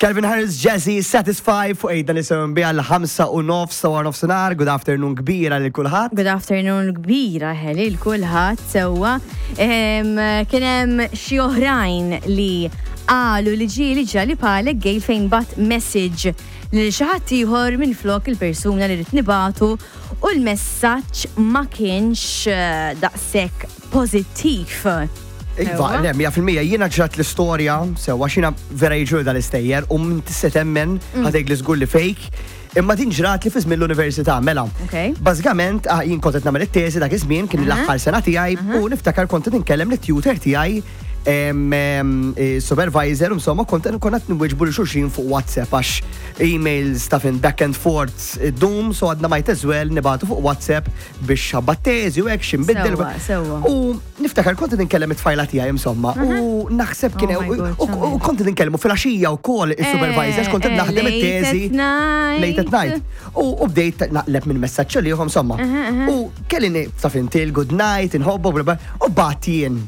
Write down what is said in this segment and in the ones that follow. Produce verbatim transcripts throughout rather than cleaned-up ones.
Calvin Harris, Jazzy, Satisfy fuq ejda nisimgħu bi għal ħamsa u nofs ta' wara nofsinhar. Good afternoon kbira lil kulħadd. Good afternoon kbira lil kulħadd sewwa. Em, Kien hemm xi oħrajn li qalu li ġieli ġrali bħalek gej fejn bagħat message lil xi ħadd ieħor minn flok il-persuna li rrid nibagħtu u l-messaġġ ma kienx eh, daqshekk pożittiv. Iva, Sewwa? le, mija fil-mija, jiena ġrat l-istorja, sewwa xina vera jiġu dal-istejjer, u minn tista' temmen Mm. ħa tgħid li żgur li fake, imma din ġrat li fi żmien l-università, mela. Ok. Bażikament, ah, jien kont qed nagħmel it-teżi dak iż-żmien, kien l-aħħar sena tiegħi, u niftakar kont qed inkellem lit-tutor tiegħi, em, em, eh, supervisor, insomma, kont konna qed nwieġbu lil xulxin fuq WhatsApp għax emails ta' fin back and forth dum, so għadna might as well nibagħtu fuq WhatsApp biex ħabba teżi u hekk x'inbiddel. Sewwa, sewwa. U niftakar kont qed inkellem it-tfajla tiegħi insomma, u naħseb kien Oh my God, u- u u kont qed inkellmu fil-għaxija wkoll is-supervisor, kont qed Eh, naħdem late it-teżi. at night. Late at night. U u bdejt naqleb minn messaġġ li insomma. U kelli taf inti good night, inħobbu, bla bla, u bgħatt jien.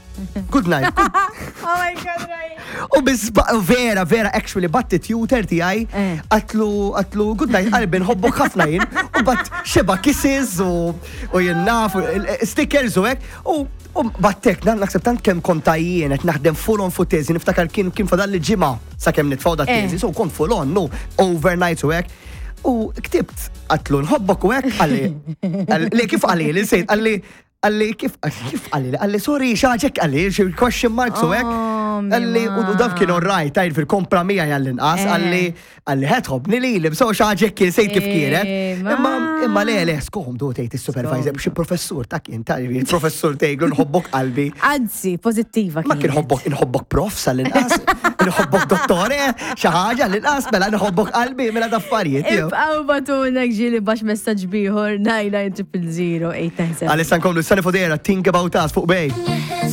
Good night. Good- Oh my God, right. U bizba, vera, vera, actually, bgħatt tutor tiegħi, Eh. għedtlu, għedtlu, good night, qalbi nħobbok ħafna jien, u bgħatt xebgħa kisses u u jien naf, u stickers u hekk, u u bgħattek, naħseb tant kemm kont jien qed naħdem full on fuq teżi, niftakar kien kien fadal li ġimgħa sakemm nitfgħu da Eh. teżi, so kont full on, no, overnight u hekk. U ktibt, għedtlu nħobbok u hekk, qalli, li kif qalli, li nsejt, qalli, qalli, kif, kif qalli, qalli, sorry, xaġek qalli, xi question marks u hekk. Oh, Qalli, u u daf kien alright, tajr fil-kompra mija għall-inqas, Eh. qalli, qalli ħed ħobni li li, so xaġek kien sejt kif kienet. Eh, ma- Imma, imma le, le, skomdu tgħid il-supervisor, biex il-professur ta' kien, ta' il-professur tgħidlu nħobbok qalbi. Anzi, pożittiva Ma kien kienet. ħobbok, nħobbok prof sal-inqas, nħobbok dottore, xi ħaġa l-inqas, mela nħobbok qalbi, mela daffarijiet. jew. Ibqaw ibagħtulna ġieli b'xi messaġġ ieħor nine nine triple zero eight nine seven. Għalissa nkomlu Sani Fodera, Think About Us fuq Bay.